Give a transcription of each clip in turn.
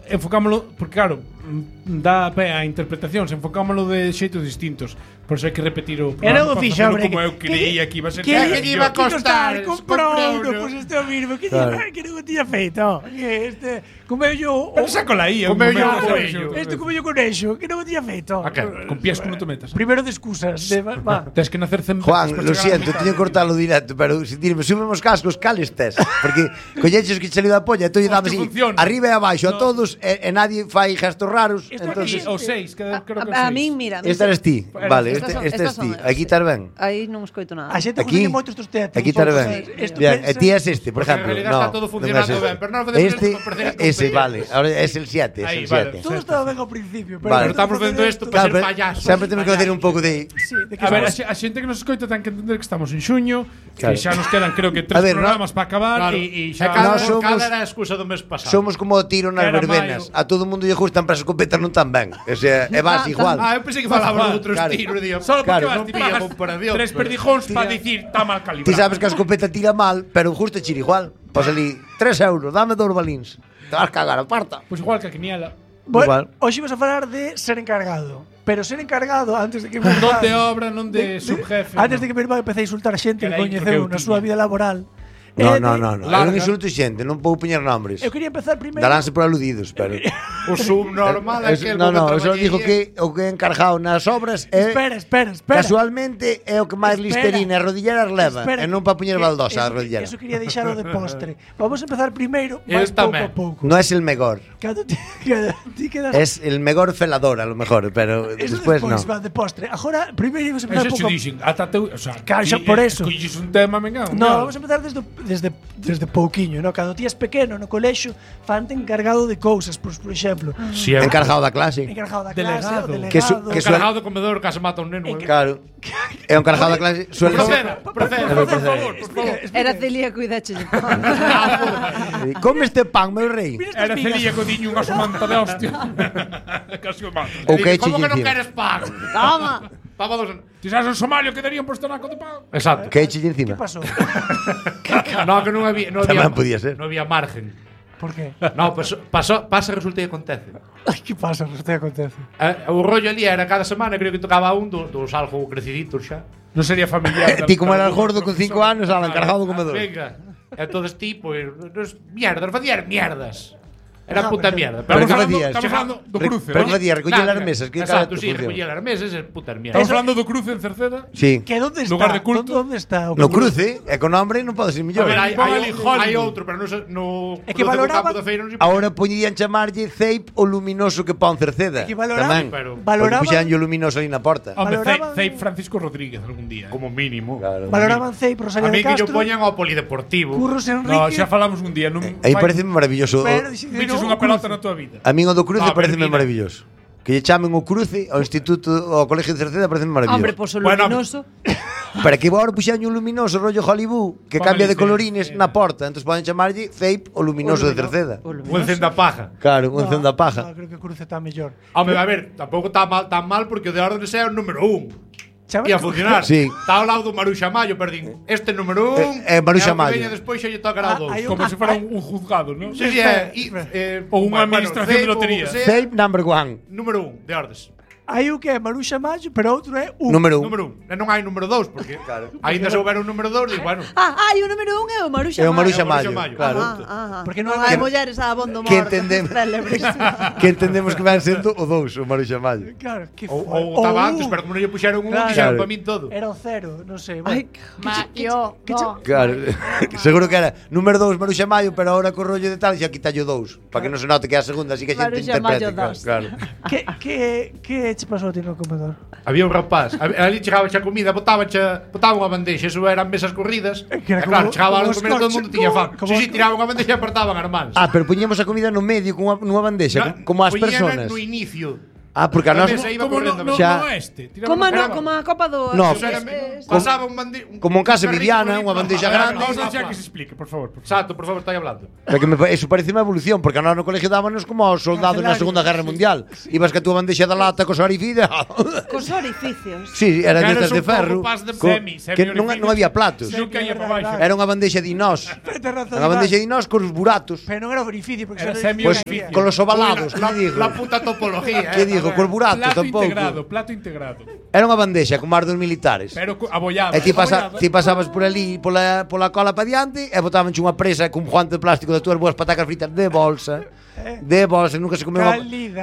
enfocámoslo, porque claro, dá pé a interpretacións, enfocámoslo de xeitos distintos. Por eso hai que repetir o Era o fixo, hombre. como eu creía que iba a ser. Que iba a costar, comprou, pois este é o mismo. Que non tiña feito. Que este comeu yo. Pero saco la aí, comeu yo o coello. Este comeu yo con eixo, que non o tiña feito. Con piesco non te metas. Primero de excusas. Tens que nacer 100 Juan, lo siento, teño que cortarlo directo, pero si dirme, subemos cascos, cales tes? Porque colleches que che saliu da polla, e tú lle damos así, arriba e abaixo a todos, e nadie fai gestos raros. Entonces, o 6, creo que o 6. A min, mira. Este eres ti, vale, este es ti. Aquí estás ben. Aí non escoito nada. A xente gusta moito estos teatros. Aquí estás ben. E ti es este, por ejemplo. En realidad está todo funcionando ben, pero non podemos ese, vale, ahora es el 7, es el 7. Todo estaba ben ao principio, pero estamos vendo isto para ser payasos. Sempre temos que facer un pouco de... A ver, a xente que nos escoita ten que entender que estamos en xuño, que xa nos quedan creo que 3 programas para acabar e xa cada era a excusa do mes pasado. Somos como o tiro nas verbenas. A todo mundo lle gustan para as escopetas non tan ben. O sea, é vas igual. Eu pensei que falaba de outros tiros, digo. Solo porque vas pagas comparación. 3 perdijóns para dicir está mal calibrado. Ti sabes que a escopeta tira mal, pero justo chira igual. Pois ali 3 euros, dame 2 balíns. Te vas cagar, aparta. Pois igual que a quiniela. Bueno, hoxe ibas a falar de ser encargado. Pero ser encargado antes de que mi non de obra, non de subjefe. Antes de que mi irmán empece a insultar a xente que coñeceu na súa vida laboral. No. Eu non insulto xente, non podo poñer nombres. Eu quería empezar primeiro. Daránse por aludidos, pero o subnormal é que eu só digo que o que é encargado nas obras é Espera. Casualmente é o que máis listerina e rodilleras leva, e non para poñer baldosa a rodillera. Eso quería deixalo de postre. Vamos a empezar primeiro, máis pouco a pouco. No es el mejor. Ti quedas Es el mejor felador, a lo mejor, pero despois non. Va de postre. Agora primeiro vamos a empezar pouco. Dixen, ata teu, o sea, por eso. Escolles un tema, venga. No, vamos a empezar desde pouquiño, no? Cando ti es pequeno no colexio, fante encargado de cousas, por exemplo. Encargado da clase. Encargado da clase, delegado. Encargado do comedor que se mata un neno. Claro. É un encargado da clase. Proceda, por favor. Era celíaco e dache. Come este pan, meu rei. Era celíaco, diño unha somanta de hostia. Casi o mato. Como que non queres pan? Toma. Ti sabes en Somalia que darían por estonaco de pan. Exacto. Que eche encima. Que pasou? No, que non había podía ser. Non había margen. Por qué? No, pues pasa, resulta e acontece. Ai, que pasa, resulta e acontece. O rollo ali era cada semana, creo que tocaba un dos algo creciditos xa. Non sería familiar. Ti como era el gordo con 5 anos, ala, encargado do comedor. Venga. Entonces ti, pues, mierdas, facías mierdas. Era puta mierda. Pero que facías? Estamos falando do cruce. Pero que facías? Recoller as mesas. Exacto, sí, recoller as mesas é puta mierda. Estamos falando do cruce en Cerceda. Sí. Que onde está? Lugar de culto. Onde está? No cruce, e con nombre non pode ser mellor. A ver, hai outro, pero no é que valoraba. Ahora poñían chamarlle Ceip o luminoso que pon Cerceda. É que valoraba. Valoraba. Puxan o luminoso aí na porta. Hombre, Ceip Francisco Rodríguez algún día. Como mínimo. Valoraban Ceip Rosario de A mí que Castro. yo poñan ao polideportivo. Curros Enrique. No, xa falamos un día. Aí parece maravilloso. Viches unha pelota na tua vida. A min o do cruce pareceme maravilloso. Que lle chamen o cruce ao instituto, ao colegio de Cerceda, pareceme maravilloso. Hombre, pois o luminoso. Para que agora puxan un luminoso rollo Hollywood que cambia de colorines na porta, entonces poden chamarlle Ceip o luminoso de Cerceda. O encenda paja. Claro, o encenda paja. No, creo que o cruce está mellor. Hombre, a ver, tampouco está tan mal porque o de orden é o número 1. E a funcionar. Sí. Está ao lado do Maruxa Mayo, perdín. Este número 1 Maruxa Mayo. E despois xa lle tocará o 2. Como se fora un juzgado, ¿no? Sí, ou unha administración de lotería. Ceip number 1. Número 1 de ordes. Hai o que é Maruxa Mayo, pero outro é Número 1. Número 1. Non hai número 2, porque ainda se houbera un número 2, digo, bueno. O número 1 é o Maruxa Mayo. É o Maruxa Mayo, claro. Porque non hai mulleres a abondo morto. Que entendemos que van sendo o 2, o Maruxa Mayo. Claro, que ou estaba antes, pero como non lle puxeron un, dixeron para min todo. Era o 0, non sei. Ai, Mayo. Claro, seguro que era número 2 Maruxa Mayo, pero ahora co rollo de tal xa quitallo 2, para que non se note que é a segunda, así que a xente interprete. Claro. Que che pasou a ti no comedor? Había un rapaz, ali chegaba xa comida, botaba unha bandexa, eso eran mesas corridas. Claro, chegaba a comer todo o mundo tiña fan. Si, tiraban unha bandexa e apartaban as mans. Pero poñíamos a comida no medio nunha bandexa, como as personas. No inicio. porque a nós como a Copa do pasaba un bandeja como en casa Viviana, unha bandeja grande. Vamos a que se explique, por favor. Exacto, por favor, estáis hablando. Eso parece unha evolución, porque a nós no colegio dábanos como aos soldados na Segunda Guerra Mundial. Ibas que a túa bandexa da lata cos orificios. Cos orificios. Sí, era destas de ferro. Que non había platos. Era unha bandexa de inós. Unha bandexa de inós cos buratos. Pero non era orificio, porque era semi-orificio. Con los ovalados, la puta topología. Que digo, cos buratos tampouco. Plato integrado. Era unha bandexa como as dos militares. Pero abollado. E ti pasabas por ali pola cola para diante e botabanche unha presa cun guante de plástico das túas boas patacas fritas de bolsa. Nunca se comeu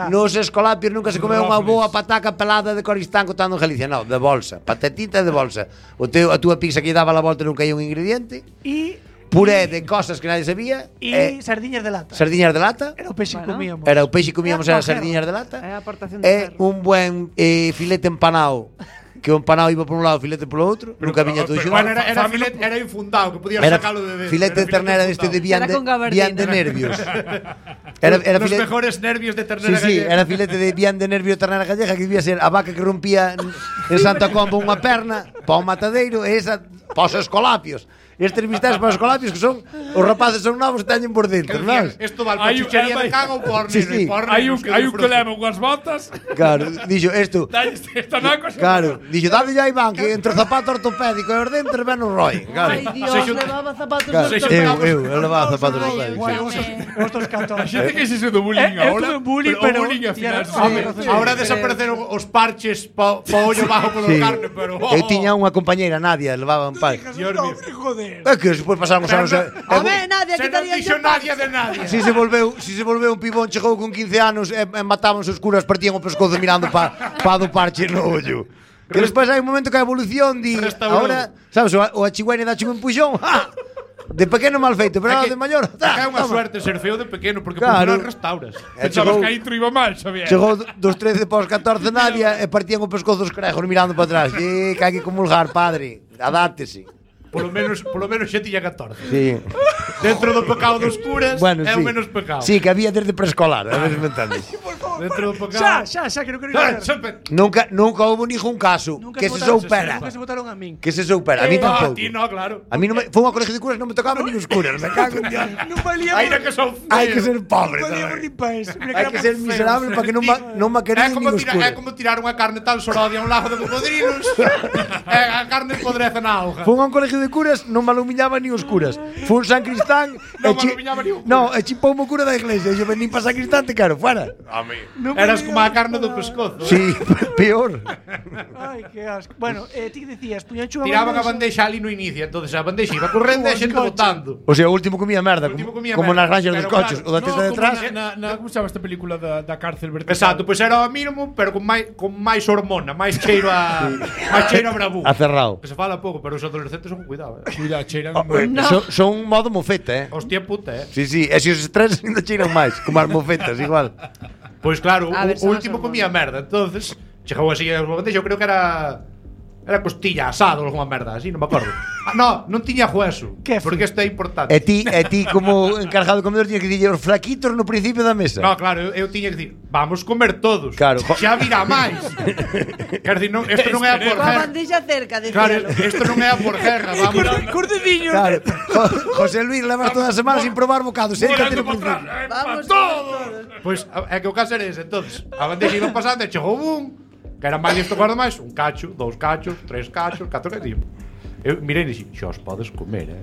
nos escolapios nunca se comeu unha boa pataca pelada de Coristán cotando en Galicia, non, de bolsa, patatita de bolsa. A túa pizza que lle daba a volta nunca hai un ingrediente. Puré de cosas que nadie sabía sardiñas de lata. Sardiñas de lata. Era o peixe que comíamos. Era o peixe que comíamos, era sardiñas de lata. Un buen filete empanado. Que o empanado iba por un lado, filete polo outro, nunca viña todo xunto. Era filete, era infundado, que podías sacalo de filete de ternera deste de bien de nervios. Era os mejores nervios de ternera gallega. Sí, era filete de bien de nervio de ternera gallega, que debía ser a vaca que rompía en Santa Comba unha perna pa o matadeiro e esa pa os escolapios. Estes vistas para os colapios que son os rapaces son novos e teñen por dentro, non? Isto vale para chuchería de cago ou porno. Hai un que leva unhas botas. Claro, dixo isto. Claro, dixo dade ya Iván que entre o zapato ortopédico e os dentes ven o roi. Ai, Dios, levaba zapatos ortopédicos. Eu levaba zapatos ortopédicos. Outros cantos. Xente que se do bullying agora. Pero bullying ao final. Ahora desapareceron os parches pa ollo bajo polo carne, pero eu tiña unha compañeira Nadia, levaban parches. É que despois pasamos anos. Nadia, que non dixo Nadia de Nadia. Si se volveu un pibón, chegou con 15 anos e matábanse os curas, partían o pescozo mirando pa do parche no ollo. Que despois hai un momento que a evolución di, ahora, sabes, o achigüeñe dache un empuxón. De pequeno mal feito, pero de maior. É unha suerte ser feo de pequeno, porque por final restauras. Pensabas que aí intro iba mal, Xavier. Chegou dos 13 pos 14 Nadia e partían o pescozo os crejos mirando para atrás. Que hai que comulgar, padre. Adátese. Polo menos xa tiña 14. Sí. Dentro do pecado dos curas é o menos pecado. Sí, que había desde preescolar, a ver se me entendes. Dentro do pecado. Xa, que non quero ir. Nunca houve ningún caso que se soupera. Nunca se botaron a min. Que se soupera, a mí tampouco. A ti no, claro. A mí non me foi unha colegio de curas, non me tocaba nin os curas, me cago en Dios. Non valía. Hai que ser pobre. Hai que ser miserable para que non me queren nin os curas. É como tirar unha carne tal sorodia a un lago de cocodrilos. A carne podreza na auga. Foi un colegio de curas, non me alumiñaba nin os curas. Foi un San Cristán. Non me alumiñaba nin os curas. Non, e chipou o cura da iglesia. E eu venín para San Cristán, te quero, fuera. A mí. Eras como a carne do pescozo. Sí, peor. Ai, que asco. Bueno, ti que decías, puñancho tiraban a bandexa ali no inicio, entonces a bandexa iba correndo e a xente botando. O sea, o último comía merda, como nas granxas dos coches, o da teta detrás. Como chama esta película da cárcel vertical? Exacto, pois era o mínimo, pero con máis hormona, máis cheiro a bravú. A cerrado. Que se fala pouco, pero os adolescentes son cuidado, Cuidado, cheiran. Son un modo mofeta, Hostia puta, Sí, e se os estreses ainda cheiran máis, como as mofetas, igual. Pois claro, o último comía merda, entonces chegou así a bandexa, eu creo que era costilla, asado ou alguma merda, así, non me acordo. Non tiña hueso, porque isto é importante. E ti como encargado de comedor tiña que dicir os flaquitos no principio da mesa. No, claro, eu tiña que dicir, vamos comer todos. Claro. Xa virá máis. Quer dicir, isto non é a por guerra. A bandexa cerca, decíalo. Claro, isto non é a por guerra, vamos. Cordediño. Claro. José Luis levas toda a semana sin probar bocados, séntate no principio. Vamos todos. Pois é que o caso era ese, entonces, a bandexa iba pasando e chegou que era máis isto guarda máis, un cacho, 2 cachos, 3 cachos, 4 cachos. Eu mirei e dixi, xa os podes comer,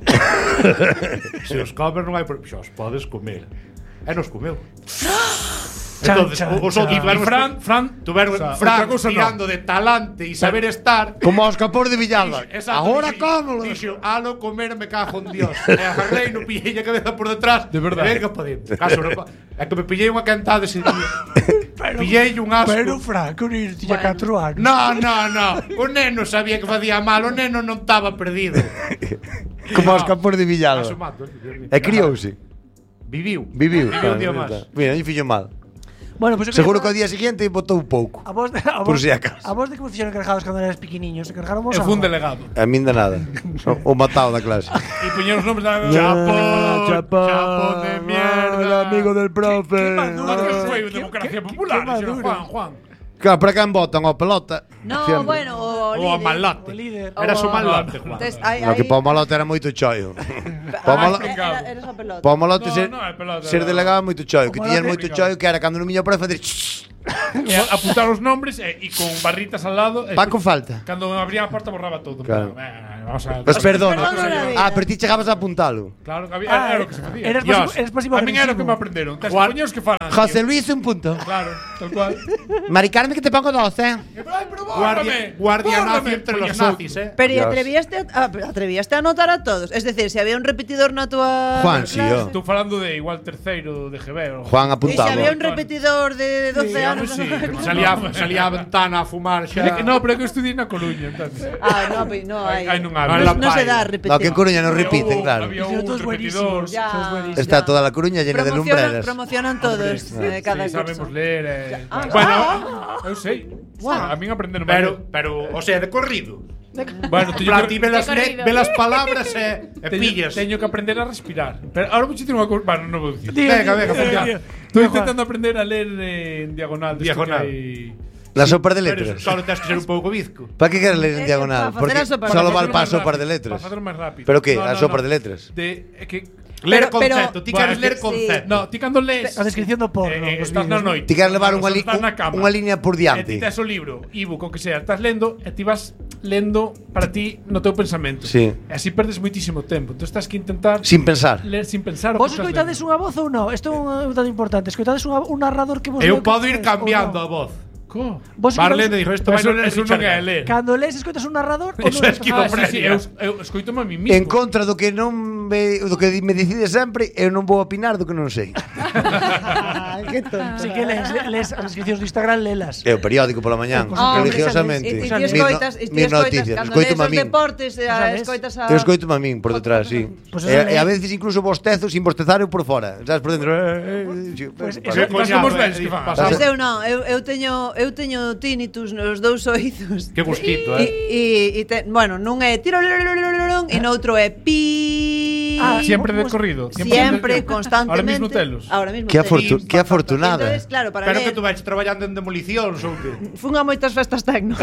Se os comes non hai por... xa os podes comer. E nos comeu. Entonces, os outros Fran tirando de talante e saber estar como aos capós de Villalba. Agora como? Dixo, alo comer me cago en Dios. E agarrei no pillei a cabeza por detrás. De verdade. Venga, podemos. É que me pillei unha cantada ese día. Pillei un asco. Pero Fran, que o neno tiña 4 anos. No. O neno sabía que facía mal. O neno non estaba perdido. Como aos capós de Villalba. E criouse. Viviu un día máis. Mira, non fixo mal. Bueno, pues seguro que ao día seguinte botou pouco. Por si acaso. A vos de que vos fixeron encargados cando eras pequeniños? Encargaron vos? Fue un delegado. A min de nada. O matado da clase. E puñeron os nomes da Chapo de mierda, amigo del profe. Que foi democracia popular, Juan. Claro, para quen votan ao pelota. No, Siempre. bueno, o Ou a líder. malote. O líder. Era o O- malote, Juan. Entonces, No, que para o malote era moito choio. Era esa pelota. Para o malote No, ser, no, é pelota, ser era- delegado moito choio. Que O tiñas malote- moito choio que era cando non miña profe facer E apuntar os nombres e con barritas al lado. Paco falta. Cando abría a porta borraba todo. Claro. Vamos a Pues perdón. Perdón, non era vida. Pero ti chegabas a apuntalo. Claro, Ah, era o que se facía. eras Dios, pasivo a min era o que agresivo. me aprenderon. Tes Juan- coños que falan. José Luis, un punto. Claro, tal cual. Mari Carmen, que te pongo 12. Ay, pero Guardia nazi bórrame, entre los coñazo. nazis, Pero Dios. atrevíaste a anotar a todos. Es decir, si había un repetidor na tua Juan, sí, clase. yo. Estou falando de igual terceiro de GB. Juan E se apuntaba. había un repetidor de 12 anos. Sí, Salía a ventana a fumar xa. No, pero é que eu estudiei na Coruña, entonces. No hai. Ai, non Ah, había. la No se dá a paella. repetir. No, que en Coruña non repiten, claro. Había Pero un todos repetidor. buenísimos. Ya. Todos buenísimos. Está toda la Coruña llena de lumbreras. Promocionan todos cada Sí, sabemos curso. ler. Bueno, Eu sei. A min aprenderon pero, o sea, de corrido. Bueno, En plan, ti ve las palabras e pillas. Teño que aprender a respirar. Pero ahora vou dicir unha cousa. Bueno, non vou dicir. Venga, Estou intentando aprender a ler en diagonal. Diagonal. La sopa de Pero letras. solo tens que ser un pouco bizco. Para que queres ler en diagonal? para facer Porque a sopa de solo letras. vale para sopar de letras. Para facer máis rápido. Pero que? A sopa de letras. É que Ler Pero- concepto, ti queres Bueno, ler sí. concepto. No, ti cando lees A descripción do porno. Os estás na vídeos, ¿no? noite. Ti queres levar Cando estás na cama, unha línea por E ti diante. tes o libro, ebook, o que sea, estás lendo e ti vas lendo para ti no teu pensamento. Sí. E así perdes moitísimo tempo. Entón estás que intentar Sin pensar. ler sin pensar o Vos que estás escoitades lendo. unha voz ou non? Isto é un dato importante. Escoitades un narrador que vos Eu leu podo ir que é, ou cambiando non? a voz. Co? Vos Marlene escoitades- dixo, isto Pero vai eso, non eso non é ler. Cando lees escoitas un narrador ou Eso non? é esquizo- Sí, eu escoitome a mí mismo. En contra do que non do que me decide sempre, eu non vou opinar do que non sei. Qué tonto. Así que lees as descripcións do Instagram, lelas. É o periódico pola mañán, religiosamente. E ti Mis escoitas, mis noticias, cando escoito lees os a min. deportes, sabes? escoitas a Eu escoito a min por detrás, sí. Pues eso E a veces incluso bostezo sin bostezar eu por fora. Sabes, por dentro. Pues Para- eso- Estás como os velhos que fan. Pois eu non, eu teño tinnitus nos dous oídos. Que gustito, Bueno, nun é tiro e noutro é pi. Siempre de corrido. Siempre, constantemente. Ahora mismo telos. Ahora mismo Que telos. que afortunada. Entonces, claro, para Pero que ler, tú vais traballando en demolicións ou que? fun a moitas festas tecno.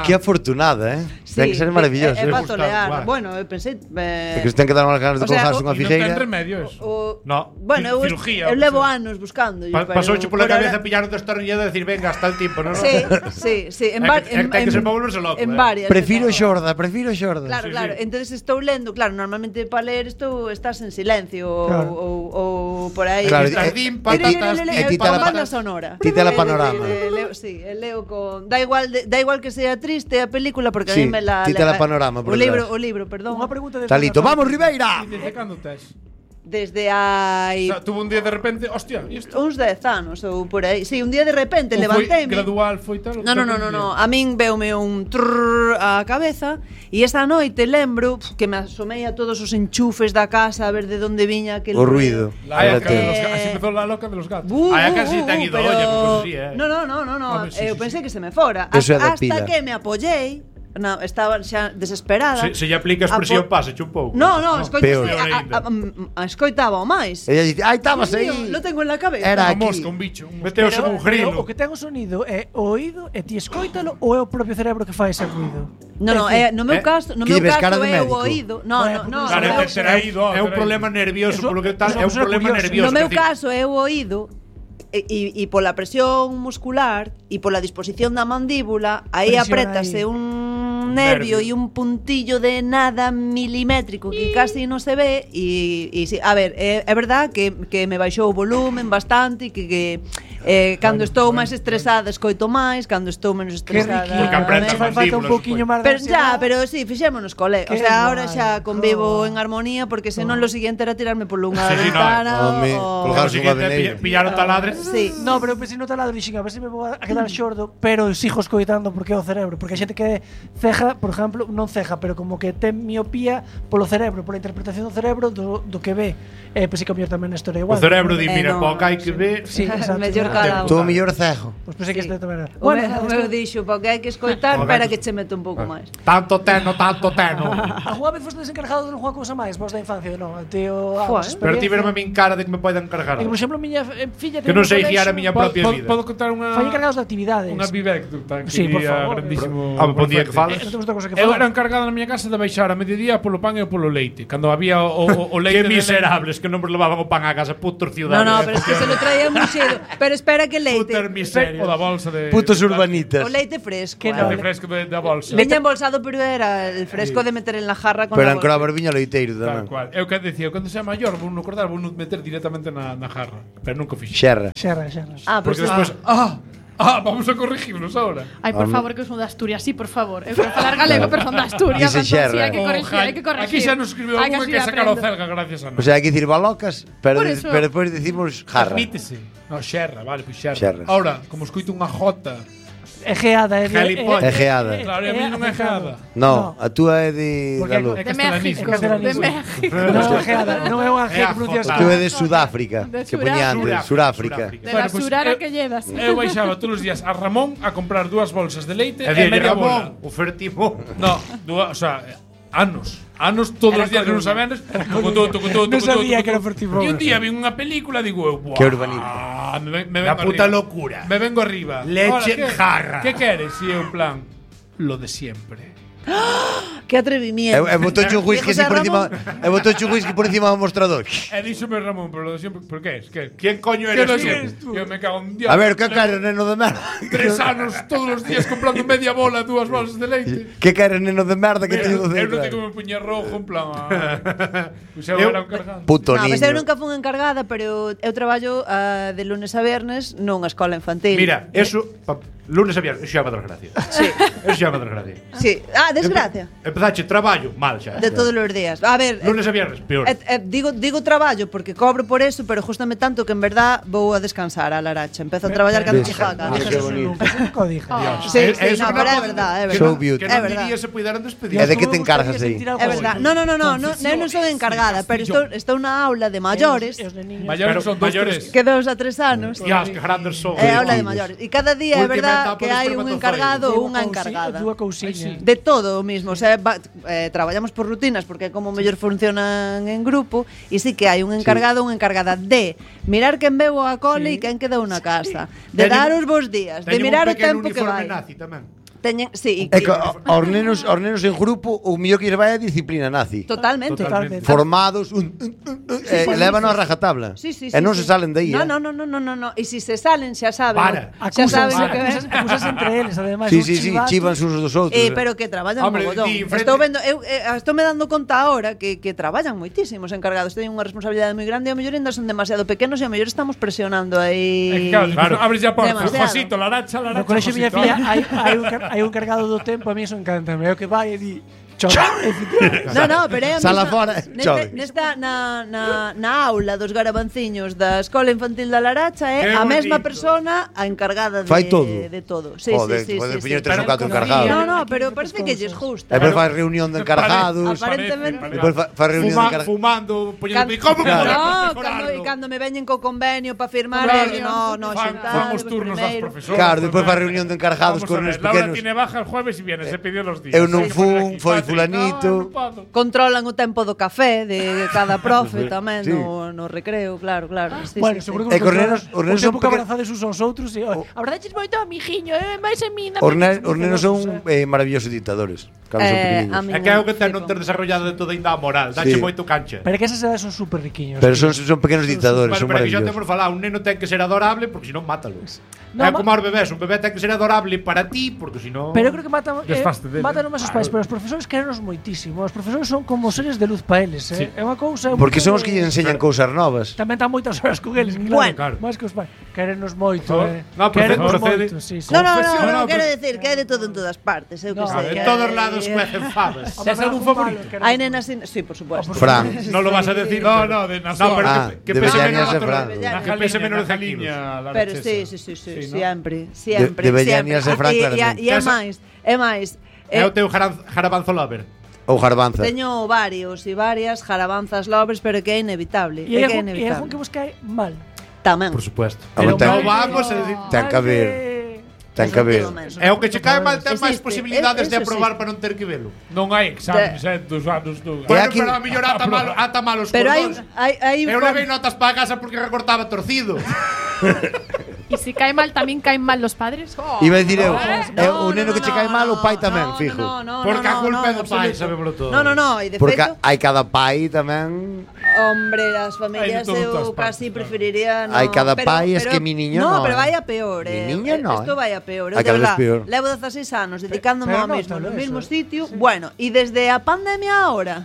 Que afortunada, Ten que ser maravilloso. É para Gustavo, tolear. guai. Bueno, eu pensei É que se ten que dar unhas ganas de O sea, colgarse unha E non ten figueira. remedio eso. No. Bueno, Cirugía, eu o que levo sea. anos buscando. Pasouche pola cabeza pillar un destornillador e decir, venga, hasta el tiempo, non? Sí. Ten que ser para volverse loco, En varias. Prefiro xorda. Claro, claro. Entonces estou lendo, claro, normalmente para ler estás en silencio Claro. ou por aí. Claro, Jardín, e ti- patatas, e ti te con la banda pa- sonora. ti te la panorama. Sí, leo con da igual que sea triste a película porque Sí, a mí me la ti te la panorama por detrás. o libro, perdón. Unha pregunta de Talito, vamos Ribeira. E desde cando tes? Desde hai O sea, tuvo un día de repente, hostia, e isto? uns 10 anos ou por aí. Sí, un día de repente Ou foi levanteime. gradual, foi tal? No. A min veume un trrr a cabeza e esta noite lembro que me asomei a todos os enchufes da casa a ver de onde viña aquel O ruido. La Era loca de ti. los gatos. Así empezó la loca de los gatos. Ai, a casi te han ido olla, porque sí, No. Home, sí, Eu sí, pensei que se me fora. Eso é da Hasta pila. que me apoyei. No, estaba xa desesperada. Se lle aplica a expresión, pásache un pouco. No, Peor. escoitaba o máis. Ella dice, "Ai, estabas aí." Lo tengo en la cabeza. Era Unha aquí. mosca, un bicho. Un Meteos en un grilo. O que ten o sonido é o oído e ti escoítalo ou é o propio cerebro que fai ese ruido? No, no meu caso, Que lleves cara de é o médico. oído. No. Claro, no, terá ido, É un terá problema ido. nervioso, Eso- polo que tal, eso é un é problema curioso. nervioso. No meu que ti- caso é o oído e pola presión muscular e pola disposición da mandíbula, aí Presión aprétase aí. un nervio e un puntillo de nada milimétrico que casi non se ve e sí, a ver, é verdad que me baixou o volumen bastante e que cando estou máis estresada escoito máis, cando estou menos Que estresada riquillo. Porque apreta Fai falta un mandíbulas, pouquiño pues. máis de Pero ansiedade. pero sí, fixémonos cole. O Qué sea, ahora guai, xa convivo jo. en armonía porque senón lo siguiente era tirarme por unha Sí, no, ventana home, o Claro, colgarse si unha que te veneira. pillaron taladres. Sí. No, pero eu pensei no taladro e dixen, a ver se me vou a quedar xordo, pero sigo escoitando porque é o cerebro, porque a xente que ceja, por exemplo, non ceja, pero como que ten miopía polo cerebro, pola interpretación do cerebro do que ve. Pois se cambiar tamén a historia O igual. cerebro di, Eh, mira, no, co que hai que ver. Sí, exacto. Mellor calado. Tú mellor cego. Pois pensei que este tamén era. O meu dixo, porque hai que escoitar, para que che meto un pouco máis. Tanto teno. Alguna vez foste desencargado de unha cousa máis, vos da infancia, non? Tío, Pero ti verme a min cara de que me poden encargar. Por exemplo, miña filla que non sei guiar a miña propia vida. Podo contar unha... Foi encargados de actividades. Unha vivecta que sí, por favor. Grandísimo. Bon día que falas. Eu era encargado na miña casa de baixar a mediodía polo pan e polo leite. Cando había o leite... Que miserables que non nos levaban o pan a casa, putos ciudadanos. No, pero es que se lo traían moi cedo. Pero espera que leite. Putas miserias. O da bolsa de... Putos urbanitas. O leite fresco. Que O leite fresco da bolsa. Viña embolsado, pero era el fresco de meter en la jarra con Pero la en Crova bolsa. Barbiña leiteiro Tal tamén. cual. Eu que decía, cando sea maior, vou non acordar, vou non meter directamente na jarra. Pero nunca fixo. Xerra. Ah, Porque pues despois... vamos a corregirnos ahora. Ai, por favor, que eu son de Asturias, sí, por favor. Eu quero falar galego, pero son de Asturias. Dice entón, sí, xerra. hai que corregir, hai que corregir. Aquí xa nos escribiu Hai algún así que sacar o aprendo. celga gracias a nós. O sea, hai que dicir balocas, pero Por eso. despois decimos jarra. Admítese. No, xerra, vale, pois xerra. Xerra. Ahora, como escoito unha jota... Egeada, Gilipollas. Egeada. Claro, e a mí non é geada. No, a túa é de Porque Galo. É De castelanismo. México. De Castelanismo. México. Non, Egeada, non é unha G que pronuncia A túa é de Sudáfrica, De que poñía antes, Suráfrica. De la surara que llevas. Eu baixaba todos os días a Ramón a comprar 2 bolsas de leite E e dille, media bola. Ramón, ofertimo. No, o sea, anos todos os días que non sabenes. Non sabía que era Fertimón. E un día vi unha película e digo, buah, Que urbanita. me La vengo puta arriba. locura. Me vengo arriba. Leche ¿qué? en jarra. ¿Qué queres? Y en plan, lo de siempre. Que atrevimiento. E botou un whisky así José por encima, Ramón. e botou un whisky por encima do mostrador. E díxome Ramón, pero lo de siempre, ¿por qué es? ¿Qué? ¿Quién coño ¿Qué eres lo tú? siempre? Yo me cago en Dios. A ver, que queres, neno de merda? 3 anos todos os días comprando media bola, 2 bolsas de leite. Que queres, neno de merda, que teño do Eu non centro? te como puñer rojo, en plan. Pois eu era un cargado. Puto No, niño. mas eu nunca fun encargada, pero eu traballo de lunes a viernes nunha escola infantil. Mira, eso, lunes a viernes, eso xa me desgracia. Sí. Eso xa me desgracia. Sí. Ah, desgracia. Empezache traballo, mal xa. De todos os días. A ver, Lunes a viernes, peor. digo traballo porque cobro por eso, pero justame tanto que en verdad vou a descansar a Laracha. Empezo a traballar cando Ves. chijaca. Qué bonito. Nunca, eso nunca o dije. Sí, Eh, sí, eso no, no pero é pode- verdad, é Que verdad. So non- beauty. Que É non verdad. diría se puideran despedir. E de que te encargas aí? É verdad. No, eu non son encargada, pero estou na aula de maiores, Maiores son 2, Maiores. 3. que 2 a 3 anos. Dios, que grandes son. É aula de maiores. E cada día é Última verdad etapa que dos hai un espermatozoides. encargado ou unha encargada. Dúa cousiña. De todo o mismo, o sea, traballamos por rutinas porque é como mellor funcionan en grupo e sí que hai un encargado ou unha encargada de mirar quen veu a cole e quen quedou na casa, de Teñen- dar os bons días, de mirar o tempo que vai. Nazi tamén. Teñen, sí, É que aos nenos en grupo o mellor que vai é a disciplina nazi. totalmente. Formados, lévanos a rajatabla. Sí, sí, E non sí. se salen de aí. No. E se se salen xa saben. Para. Xa saben o que ven. Acusas entre eles, ademais. Sí, sí, sí, chivanse uns dos outros. Pero que traballan Hombre, mogollón. di, frente- Estou vendo, estou me dando conta agora que traballan moitísimos encargados, teñen unha responsabilidade moi grande e ao mellor ainda son demasiado pequenos e ao mellor estamos presionando aí. Claro, abres ya portas. Demasiado. Josito, Laracha. No colexio miña filla hai un cargado do tempo, a mí eso encanta. É o que vai e di No, pero é a Sala mesma- fora, chove. nesta na aula dos garabanciños da Escola Infantil da Laracha é Qué a mesma bonito. persona a encargada Fai todo. de todo. Sí, Joder, sí, poder sí, poñer sí. tres ou catro encargados. No, pero parece que lles gusta. E depois faz reunión de encargados. Aparentemente. Depois faz reunión de encargados. Fumando, poñendo Can- ¿Cómo Claro. No, cando me veñen co convenio para firmar, no, Fan xuntar, os turnos das primeiro. profesoras. Claro, depois faz reunión de encargados Vamos con a ver, os Laura pequenos. tiene baja el jueves y viene, se pidió los días. Eu non Hay que poner fun, aquí, foi Patrick. fulanito. No, non podo. Controlan o tempo do café de cada profe tamén Sí. no recreo, claro. Sí, Bueno, sí, seguro sí. que E os nenos son tempo que peque- abrazades uns aos outros e abrazaches moito a mijiño, máis en mí. Os nenos son maravillosos dictadores. Cando son A pequeninos. mí É que é o que ten sí, non ter desarrollado de toda ainda a moral. Dache Sí. moito cancha. Pero que esas edades son super riquiños. Pero son pequenos dictadores, Bueno, son pero que xa maravillosos. temos falado, un neno ten que ser adorable porque senón mátalo. No, É como aos bebés, un bebé ten que ser adorable para ti porque senón Pero eu creo que matan Desfaste dele. matan máis os pais, pero os profesores querenos moitísimo. Os profesores son como seres de luz para eles, Sí. É unha cousa Porque son os que lle enseñan cousas novas. Tamén tan moitas horas con eles, Bueno. claro. Máis que os pais. Querenos moito, No, no, Querenos procede. moito, sí, sí. No, No, quero decir que hai de todo en todas partes, eu que No, sei. de que todos hai- lados cuecen fabas. ¿Tienes algún favorito? Hai nenas, sí, por supuesto. Fran. Non lo vas a decir. No, pero- no, de No, Nasuar. pero Ah, que de pese Bellañas menos de a Fran. Que pese menos de 100 kilos. Pero sí, siempre. Deberían irse Fran, claramente. E é máis. É o teu jarabanzo lover. Ou garbanza. Teño varios e varias jarabanzas lovers, pero que é inevitable. E É que é hai algún que inevitable. vos cae mal. tamén. Por supuesto. Pero Non vamos a decir... Ten que haber. Ten que haber. É o que che cae mal ten máis Existe, posibilidades de eso aprobar para non ter que velo. Non hai exames, dos anos non. Bueno, aquí- pero a mellor ata malos Pero cordóns. hai Eu levei notas para casa porque recortaba torcido. Y si cae mal, tamén caen mal los padres. Oh. Iba a dicir eu, No, o neno que che cae mal, o pai tamén, no, fijo. Porque a culpa é do pai, sabémolo todo. No, e de Porque feito, hai cada pai tamén. hombre, as familias Hai de todo en todas eu partes, casi claro. preferiría no. Hai cada pai, es que mi niño no. no, Pero vai a peor, Mi niño no, Esto vai a peor. Hai Eu de cada vez verdad, peor. levo 16 anos dedicándome pero ao mismo, nótalo no mismo eso, sitio. Bueno, e desde a pandemia ahora,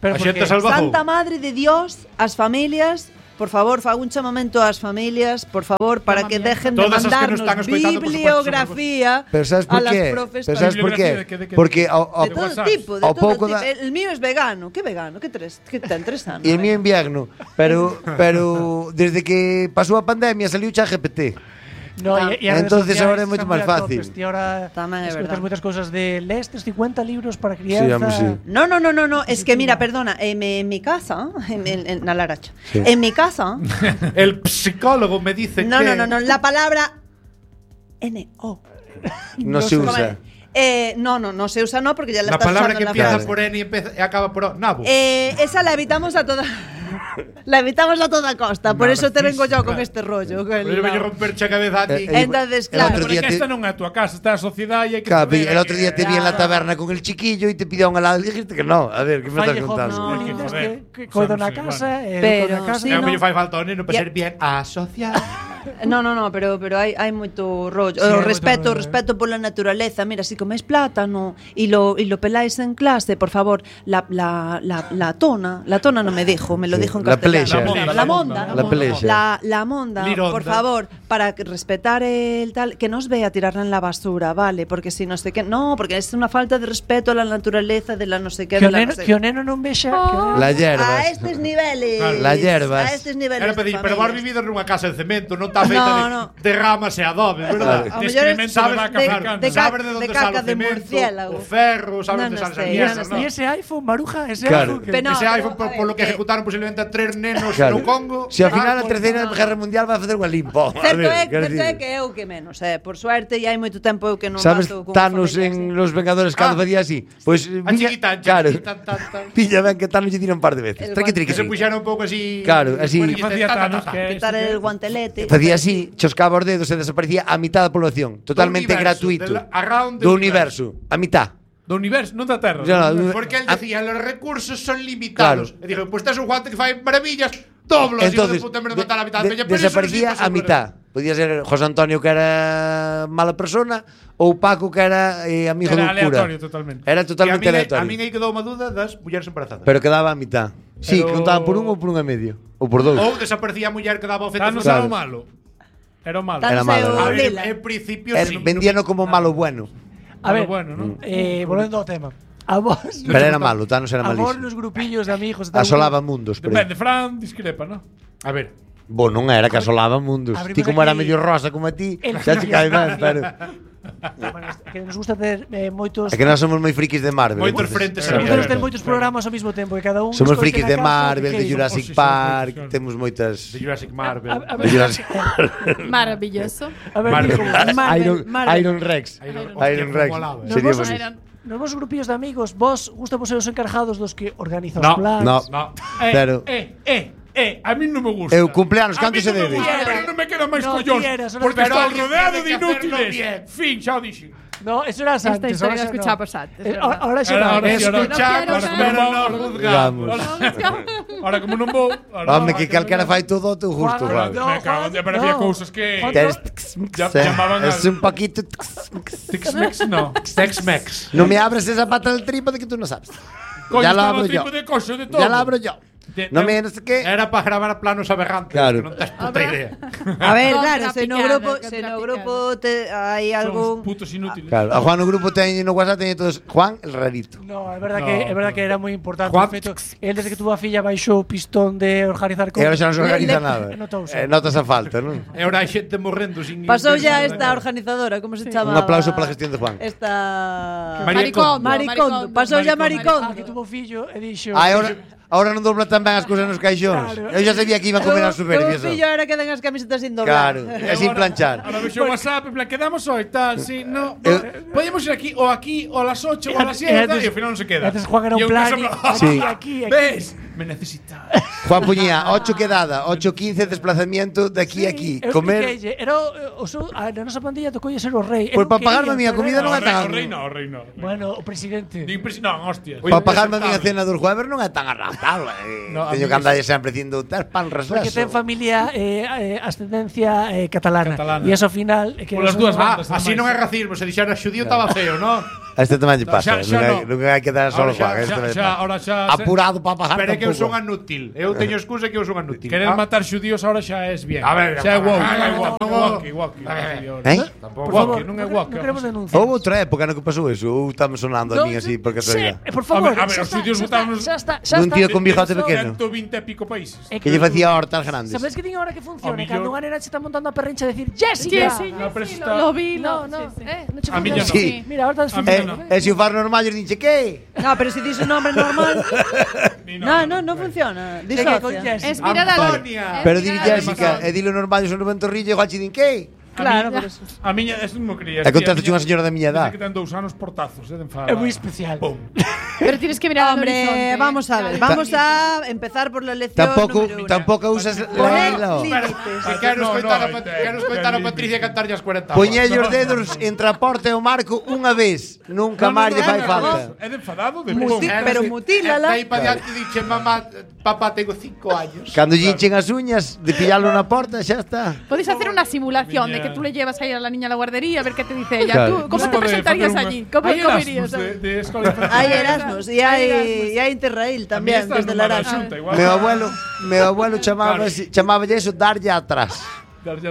Pero A xente porque salvajou. Santa Madre de Dios, as familias, por favor, fago un chamamento ás familias, por favor, para que dejen de Todas as que nos mandarnos están escoitando, por supuesto, bibliografía Pero sabes a por las qué? profes Pero para- sabes por qué? ¿De Porque de todo WhatsApp. tipo, de Ao todo pouco tipo. da- El mío es vegano. ¿Qué vegano? ¿Qué ten 3 anos? E el mío invierno, pero desde que pasou a pandemia saliu ChatGPT. No, e as redes Entonces sociais ahora é moito están moi máis a fácil. tope. Ti ahora Tamén é escoitas verdad. moitas cousas de lestes 50 libros para crianza. home, sí. No, es que mira, perdona, en mi casa, en la Laracha, Sí. en mi casa, El psicólogo me dice no, que... la palabra N-O. No se usa. No se usa no porque ya la La estás palabra usando que en la empieza frase. por N y acaba por O. Nabo. Esa la evitamos a toda la evitamos a toda costa, por eso te vengo yo con Narcisista. este rollo. Pero yo voy a romperche a cabeza a ti. Entonces, el claro, otro día Porque te- esta non é a tua casa, está a sociedade e hai que Claro, saber el otro día te vi en la Claro. taberna con el chiquillo y te pidió un helado y dijiste que no. A ver, ¿qué me estás Falle contando? hobbies Hay que lindos joder. que coido na Sabes, casa, Pero na casa. sí, É o no. que lle fai falta ao neno para Ya. ser bien asociado. No, pero hai moito rollo. Sí, hai O moito respeto, rollo, respeto pola naturaleza. Mira, si coméis plátano y lo peláis en clase, por favor, la tona no me dijo, me lo dijo en La castellano. plexa. La monda. La plexa. La monda, Lironda. por favor, para respetar el tal, que no os vea tirarla en la basura, ¿vale? Porque si no sé qué, no, porque es una falta de respeto a la naturaleza de la no sé qué. Que de o la neno, no sé que o neno non vexa, que o neno- Las hierbas. A estes niveles. Las hierbas. A estes niveles. Era pedir, de pero vos familias. vivido nunha casa de cemento, non está feita No. de ramas e adobes, verdad? A De mellor excremento de sabes vaca de- africana. de ca- Sabes de onde de sale caca o de cemento, murciélago. o ferro, sabes No, onde no sale sé, esa yo mierda, no sé. ¿no? E ese iPhone, Maruja, ese Claro. iPhone. Pero no, Ese iPhone, a por ver, lo que ejecutaron posiblemente a 3 nenos Claro. no Congo. Si ao final a por- terceira guerra mundial vai facer unha limpo. Certo é que eu que menos, por suerte, e hai moito tempo eu que non Sabes, bato con Thanos familias, en Los Vengadores cando facía así? Pois A chiquitán, claro. tan. Pilla ben que Thanos lle tira un par de veces. El Triqui, guante. triqui, Que se sí. puxeron un pouco así. Claro, así. Bueno, y Facía ta, ta, ta, Thanos ta. que quitar el guantelete. Facía así, choscaba os dedos e desaparecía a mitad da población. Totalmente Do universo, gratuito. around the Do universo. A mitad. Do universo, non da Terra. Ya, do universo. Porque él decía, los recursos son limitados. Claro. Y dijo, pues te es un guante que fai maravillas, doblo, Entonces, hijo de puta, en vez de matar a la mitad. Pero eso desaparecía sí pasa a mitad. Podía ser José Antonio que era mala persona ou Paco que era amigo Era do cura. aleatorio totalmente. Era Y totalmente a mí aleatorio. aí quedou unha duda das mulleres embarazadas. Pero quedaba a mitad. Sí, Pero- que contaban por un ou por un e medio. Ou por dous. Ou desaparecía a muller que daba ofentas. Thanos Claro. era o malo. Era o malo. Era malo, A ver, Lila. en principio sí. Vendíano como malo bueno. A ver, bueno, ¿no? volvendo ao tema. A vos, Pero era malo, Thanos era a vos malísimo. nos grupillos de amigos, e tal, Asolaba mundos. Pero... Depende, Fran discrepa, ¿no? A ver, Bo, non era que asolaba mundos. Abrimos Ti como era aquí medio rosa como a ti, el xa che cae ben, pero... bueno, que nos gusta ter moitos É que nós somos moi frikis de Marvel. Moitos entonces, frentes Nos a gusta ver. ter moitos programas ao mesmo tempo e cada un Somos escoite frikis na de casa o que Marvel, de queira. Jurassic Sí, Park, claro. temos moitas... de Jurassic Marvel. A De ver, Jurassic Maravilloso. a ver, Marvel. digo, Iron Rex. Hostia, Rex. como molaba. Nos Sería vos, bonito. Eran- nos vos grupillos de amigos, vos gusta vos ser os encargados dos que organizan No, os plans. No, No. Pero- A mí non me gusta. Eu cumpleanos, A canto mí se non me debe? gusta, pero non me quedan máis No collóns. quieras, Porque pero estou alguén rodeado tiene de que hacerlo inútiles. bien. Fin, xa o dixen. No, eso era Esta antes. historia ahora la xa no. escuchábamos antes, Eh, ¿verdad? Ahora xa Ahora no. sí, ahora no Escuchamos, quiero pero saber. no juzgamos. Ahora como non vou, Home, que calquera fai todo ao teu gusto, Juan, Juan. no. Me cago, pero había cousas que Juan, Tes- Ya- llamaban Es al- un poquito... Tex-Mex no. Tex-Mex. No me abres esa pata del trípode que tú no sabes. Coño, Ya la estaba abro yo. tipo de coxo de todo. Ya la abro yo. No me no sé qué. Era para gravar planos aberrantes. Claro. Que non tes puta idea. A ver, Contra claro, se no picada, grupo, contra se no picada. grupo hai Son algún putos inútiles. Claro, a Juan no grupo teñe no WhatsApp teñe todos Juan el rarito. No, é verdad, No, é verdad no. que era moi importante. Juan- De feito, el desde que tuvo a filla baixou o pistón de organizar E ahora xa non se organiza Le- nada. notouse. Notas a falta, non? E ahora hai xente morrendo sin... Pasou ya esta organizadora, como se chama? Un aplauso para a gestión de Juan. Esta Maricondo. Maricondo, pasou ya Maricondo. Que tuvo fillo e dixo Ah, Ahora non dobla tan ben as cousas nos caixóns. Eu xa sabía que iban a comer as superficies. O fillo era que den as camisetas sin doblar. Claro, é sin planchar. Ahora vexo o WhatsApp, en plan, quedamos hoy, tal, sí, no. Podemos ir aquí, o a las 8, o a las 7, y al final non se queda. Antes Juan era un plan, aquí. ¿Ves? Me necesitas. Juan puñía 8 quedada, 8:15 desplazamiento de aquí a aquí. Comer. Era a nosa pandilla tocou ser o rei. Pois para pagarme a miña comida non é tan. O rei no. Bueno, o presidente. Non, hostias. Para pagarme a miña cena dos jueves non é tan arrastrable. Teño que andar sempre dicindo ter pan Porque reseso. ten familia ascendencia catalana. E eso ao final que Por as dúas bandas. Así non é racismo, se dixera xudío estaba feo, non? Este tamén lle pasa, non hai que dar solo Juan. Ahora xa. Apurado para pagar. Pero é que eu son inútil. Eu teño excusa que eu son inútil. Querer matar xudíos ahora xa es bien. A ver, xa é woke. Por favor, non queremos denunciar. Houve outra época no que pasou eso. Ou estamos sonando a mí así porque Sí, por favor. A ver, os xudíos votámonos un tío con bigote pequeno 120 e pico países. que lle facía hortas grandes. Sabes que tiña hora que funcione cando unha nena se está montando a perrincha a decir Jessica. Lo vi, No, no che A miña funciona. Sí. Mira, ahora está desfuncionando. E se o far normal, yo dixe que? No, pero si dices un nombre normal. No funciona. Disocia. Es mirar a Antonia. Pero dile Jessica, e dilo normal, yo son un torrillo, igual che din que? Claro, por eso. A miña, eso non quería. E contaste unha señora da miña edad. Que ten 2 anos portazos, de enfada. É moi especial. Pero tienes que mirar al Hombre, horizonte. vamos a ver. Vamos a empezar por la lección número 1. Tampoco usas la Poner hilo. límites. Quero escoitar a Patricia cantar as 40. Poñelle os dedos entre a porta e o marco unha vez. Nunca máis lle fai falta. É de enfadado, de Pero mutílala. Aí para diante dixe, mamá, papá, tengo 5 años. Cando lle hinchen as uñas de pillarlo na porta, xa está. Podéis hacer una simulación de que tú le llevas ahí a la niña a la guardería a ver qué te dice ella. Claro. ¿Tú cómo te presentarías allí? ¿Cómo irías? Hay Erasmus y hay Interrail también desde la Erasmus. Meu abuelo chamaba eso darlle atrás.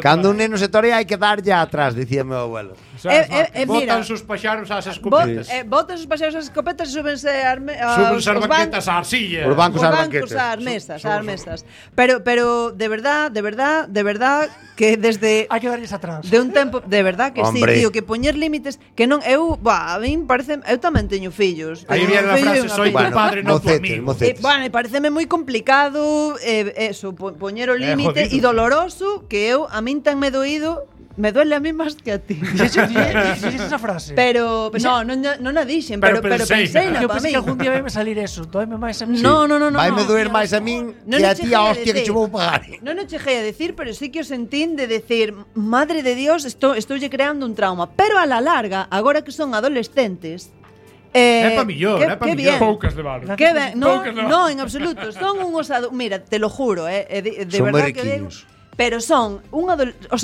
Cando un neno se torea hai que darlle atrás, dicía meu abuelo. Mira, Botan sus paxaros ás escopetas. botan sus paxaros ás escopetas e súbense Súbense as banquetas ás arcillas. Os bancos ás banquetas. ás mesas. Pero de verdad que desde Hai que darlles atrás. de un tempo, de verdad que Hombre. sí, tío, que poñer límites que non a min parece, eu tamén teño fillos. Aí viene a frase, soy tu padre, no tu amigo. mocetes. Bueno, e pareceme moi complicado eso, poñer o límite e doloroso que eu a min ten me doído. Me duele a mí máis que a ti. Dixes esa frase. Pero non a dixen, pero pensei na Eu pa pensei mí. que algún día vai me salir eso. Doime máis a mí. No. Vaime doer máis a min Non que a che ti a cheguei a hostia que decir. che vou pagar. Non o cheguei a decir, pero sí que o sentín de decir, madre de Dios, estoulle creando un trauma. Pero a la larga, agora que son adolescentes, É pa millor, é pa millor. Poucas de vale. Que ben, Poucas de vale. no, en absoluto. Son unhos mira, te lo juro, de Son verdad moi que digo. riquiños. Pero son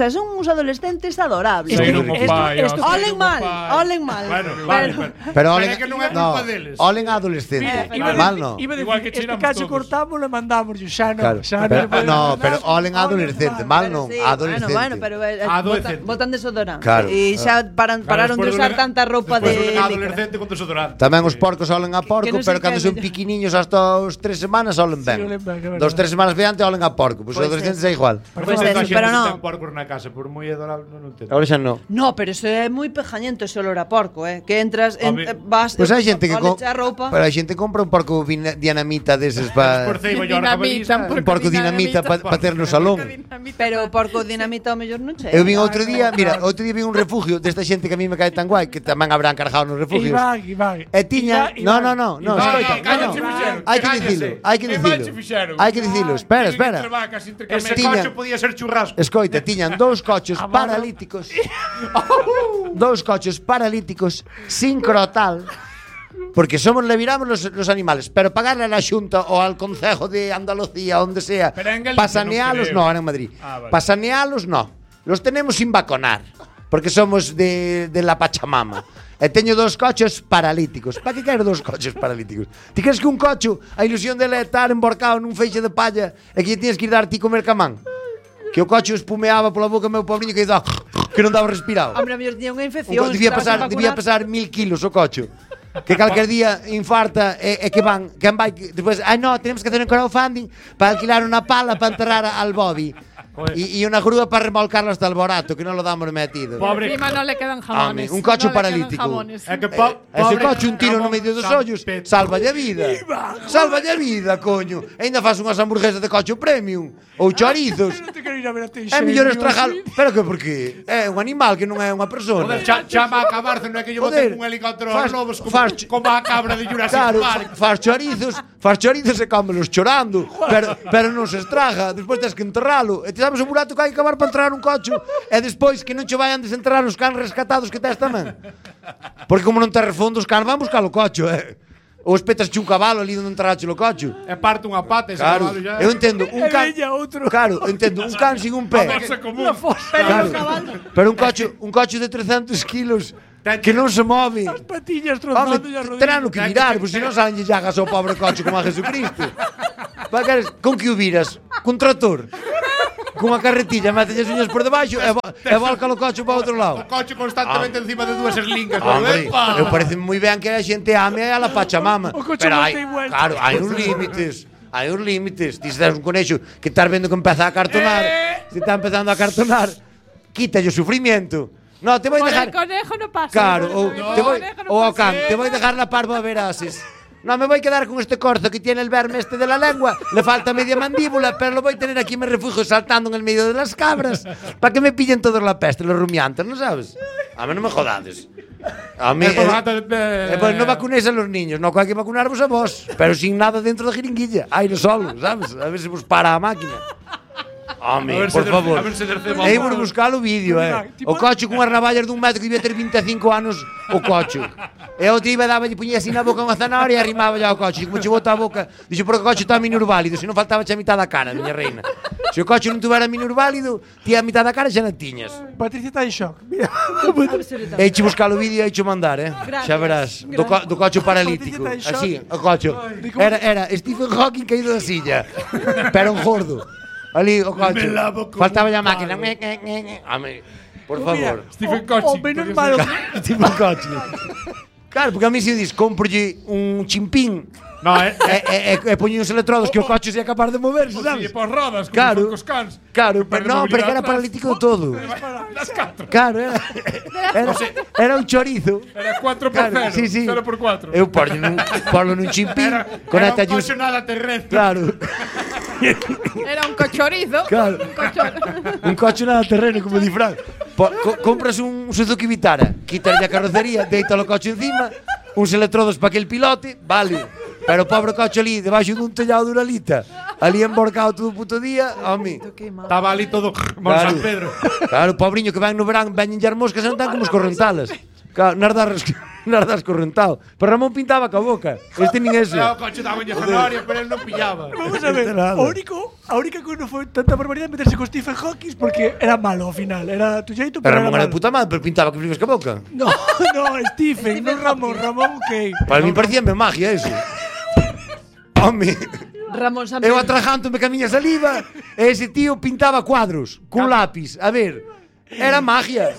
son uns adolescentes adorables. Saíron o pai, Olen mal. Bueno, vale. Pero é que non é culpa deles. Olen adolescente. Mal no. Iba a Igual que decir, este tiramos cacho todos. cortámoslo e mandámoslo. Xa non. Claro. Xa Pero olen adolescente, mal non, adolescente. Bueno, pero Adolescente. botan desodorante. Claro. E xa pararon de usar tanta roupa de Despois licra. adolescente con desodorante. Tamén os porcos olen a porco, Que non sei pero cando que son é piquiniños hasta os 3 semanas olen ben. olen ben, que verdade. 2-3 semanas diante olen a porco, pois os Pois adolescentes é igual. Pues eso, pero no. Ten porcos na casa, por moi adorable, non entendo. Agora xa non. No, pero eso é moi pejañento ese olor a porco, que entras, vas Pois hai xente que a roupa. pero hai xente que compra un porco dinamita deses Por para ceiba yo un porco dinamita para ter no salón. Pero porco dinamita ao mellor non che. Eu vin outro día vin un refugio desta xente que a mí me cae tan guai, que tamén habrán cargado nos refugios. Iván. E tiña, no, escoita, cállate, no. cállate. Hai que dicilo. Espera. Ese Tiña- coche podía ser churrasco. Escoita, tiñan dous coches paralíticos. Dous coches paralíticos sin crotal. Porque le viramos los animales, pero pagarle a la Xunta o al Concejo de Andalucía, onde sea, Pero en Galicia pasanealos, non creo. no, era en Madrid. Vale. Pasanealos, no. Los tenemos sin vacunar, porque somos de la Pachamama. E teño dos coches paralíticos. Para que quero dos coches paralíticos? Ti crees que un coche, a ilusión dele é estar emborcado nun feixe de palla e que lle tienes que ir dar ti comer camán? Que o coche espumeaba pola boca meu pobriño que non daba respirado. Hombre, a mellor tiña unha infección. Debía pesar 1000 kilos o coche. Que calquer día infarta e que vai despois, no, tenemos que hacer un crowdfunding para alquilar unha pala para enterrar al Bobby. Y una grúa para remolcarlo hasta el Borato, que no lo damos metido. Pobre. Encima no le quedan jamones. Un coche no le quedan paralítico. jamones. Ese coche un tiro no medio dos ollos, salvalle a vida. Salvalle a vida, coño. E ainda faz unhas hamburguesas de coche premium ou chorizos. É mellor estrajalo. Pero que por qué? É un animal que non é unha persona. Joder, chama a acabarse, non é que yo bote un helicóptero aos lobos como a cabra de Jurassic Park. Faz chorizos e cómelos chorando, pero non se estraga. Despois tens que enterralo. E ti sabes o burato que hai que acabar para enterrar un coche e despois que non che vayan desenterrar os cans rescatados que tes tamén. Porque como non terres fondo, os cans van buscar o coche, Ou espetas un cabalo ali onde enterrache o coche. E parte unha pata ese Claro, cabalo já. eu entendo, un can. Claro, entendo, un can sin un pé. Claro, pero un coche de 300 kilos que non se move. As patillas trozando e as rodillas. Terán que virar, pois se non salen llagas ao pobre coche como a Jesucristo. Con que o viras? Con tractor? Con a carretilla, metes as uñas por debaixo e volca o coche para outro lado. O coche constantemente encima de dúas eslingas. Eu parece moi ben que a xente ame a la Pachamama. Pero claro, hai uns límites. Hai uns límites. Ti se das un conexo que estás vendo que empeza a cartonar, se está empezando a cartonar, quítalle o sufrimiento. No, te voy a dejar. El conejo no pasa. Claro, o ao can, te voy a dejar la parva verases. No, me voy a quedar con este corzo que tiene el verme este de la lengua. Le falta media mandíbula, pero lo voy a tener aquí en mi refugio saltando en el medio de las cabras. Para que me pillen todos la peste, los rumiantes, ¿no sabes? A mí no me jodades. A mí. Pues no vacunéis a los niños, no, hay que vacunarvos a vos. Pero sin nada dentro de jeringuilla. Aire solo, ¿sabes? A ver si vos para a máquina. Home, por favor. Ei por buscar o vídeo, O coche cunhas navallas dun metro que debía ter 25 anos o coche. E o tío daba e puñía así na boca unha zanahoria e arrimaba ya o coche. Como che bota a boca, dixo porque o coche está minusválido, se non faltaba xa a mitad da cara, miña reina. Se o coche non tuvera minusválido, ti a mitad da cara xa non tiñas. Patricia está en shock. Mira. Eiche buscar o vídeo e eiche mandar, Xa verás, do coche paralítico. Así, o coche. Era Stephen Hawking caído da silla. Pero un gordo. Ali, o coche. Faltaba a máquina. Por favor. Stephen Coche. Menos malo. Stephen Coche. Claro, porque a mí se dis, cómprolle un chimpín. No, e poñe uns electrodos que o coche sea capaz de moverse, sabes? E por rodas, como claro, cos cans. Claro, pero non, pero que era paralítico de todo. Claro, era un chorizo. Era 4x0, sí, 0x4. Eu porlo nun chimpín, conecta un coche nada terrestre. Claro. Era un cochorizo. Claro. Un coche nada terreno, como di Fran. Compras un Suzuki Vitara, quítalle a carrocería, deita o coche encima, uns electrodos para que el pilote, vale. Pero o pobre coche ali, debaixo dun tellado de Uralita, ali emborcado todo o puto día, home. Estaba ali todo como San Pedro. Claro, o pobriño que ven no verán, veñen as moscas e non tan como os correntalas. Claro, nas das correntado. Pero Ramón pintaba ca boca. Este nin ese. O coche daba en zanahoria, pero él non pillaba. Vamos a ver, a única que non foi tanta barbaridade meterse con Stephen Hawking porque era malo ao final. Era tu xeito, pero Ramón era de puta madre, pero pintaba que flipes ca boca. No, Stephen, non Ramón. Ramón, ok. Para mí parecía magia eso. Home. Ramón San Eu atrajántome ca miña saliva e ese tío pintaba cuadros cun lápiz. A ver, era magia.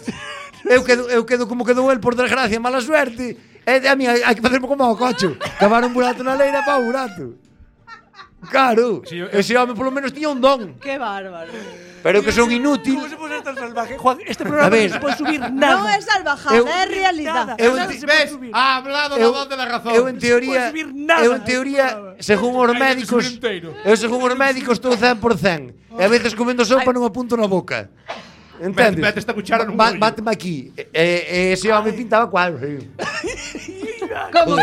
Eu quedo como quedou el, por desgracia, mala suerte. E a mí hai que facerme como ao coche. Cavar un burato na leira para o burato. Claro, ese home polo menos tiña un don. Qué bárbaro. Pero que son inútil. ¿Cómo se puede ser tan salvaje? Juan, este programa no se puede subir nada. No es salvajada, es realidad. ¿Ves? Ha hablado la voz de la razón. Eu en teoría, según os médicos, estou 100%. E a veces comendo sopa non apunto na boca. Entendes? Mete esta cuchara nun bollo. Báteme aquí. Ese home pintaba cuadros. ¿Cómo?